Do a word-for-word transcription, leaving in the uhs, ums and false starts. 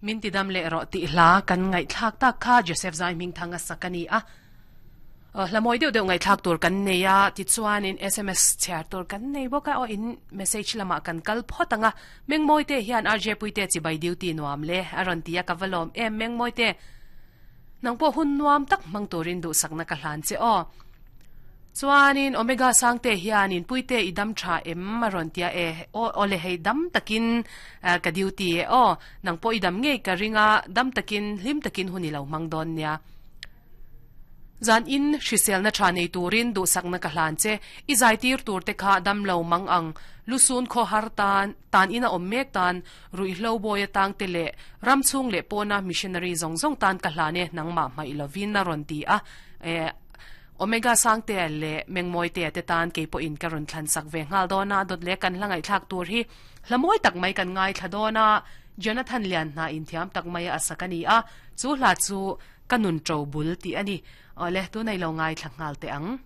Min ti dam leh rawh tih hla kan ngaihthlak tak kha Joseph Zai hming thang a sak a ni a. Hla mawi deuh deuh ngaihthlak tur kan nei a, tichuanin S M S chhiar tur kan nei bawk a, aw in message lamah kan kal phawt ang a. Mengmawi te hian R J Puite chibai duty nuam le a rawn ti a, ka va lawm em Mengmawi te. Nang pawh hun nuam tak hmang turin duhsakna ka hlan che aw. Chuanin Omega Sangte hianin Puite i dam tha em a rawn tia e, aw aw le hei dam takin ka duty e aw, nang pawh i dam ngei ka ring a, dam takin hlim takin hun i lo hmang dawn nia. Zan in hriselna tha nei turin duhsakna ka hlan che, i zai tir tur te kha dam lo mang ang, lusun khaw har tan, tan ina awm mek tan, ruihhlo bawi atang te leh ram chhung leh pawna missionary zawng zawng tan ka hlan e, nangmah hmaih lovin a rawn ti a. E Omega Sangtea leh Mengmawitea te tan kei pawhin ka rawn thlan sak ve nghal dawn a, dawt leh kan hla ngaihthlak tur hi hla mawi tak mai kan ngaithla dawn a, Jonathan Lianhna inthiam tak mai a sak a ni a, chu hla chu ka nun ṭo bul tih a ni. Awle, tunah i lo ngaithla nghal teh ang.